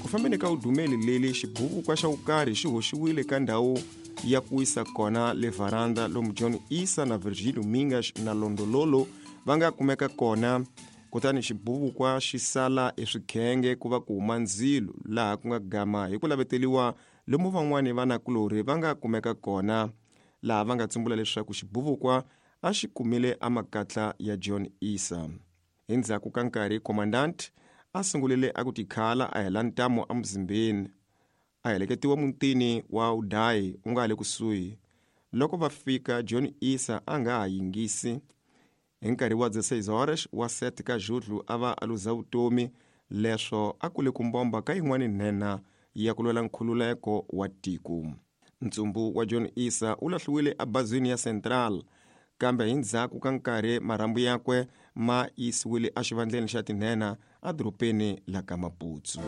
Ku fambeni ka udumeli leli, xibuvukwa xa vukarhi xi hoxiwile ka ndhawu ya ku wisa kona le varanda lomu John Issa na Virgilio Mingas na Londololo va nga kumeka kona. Kutani xibuvukwa xi sala eswikhenge ku va ku huma ndzilo laha ku nga gama hi ku laveteliwa lomu van'wani vanakulorhi va nga kumeka kona, laha va nga tsumbula leswaku xibuvukwa a xi kumile amakatla ya John Issa. Hi ndzhaku ka nkarhi commandant a sungulile a ku tikhala a hela ntamu emuzimbeni, a heleketiwa mutini wa Udayi u nga le kusuhi. Loko va fika John Issa a nga ha yingisi. Hi nkarhi wa 16 horas wa 7 ka Julho a va a luza vutomi, leswo a kule ku mbomba ka yin'wani nhenha ya ku lwela nkhululeko wa tiko. Ntsumbu wa John Issa u lahliwile ebazini ya Central, kambe hi ndzhaku ka nkarhi marhambu yakwe ma yisiwile exivandleni xa tinhenha edorobeni la ka Maputo.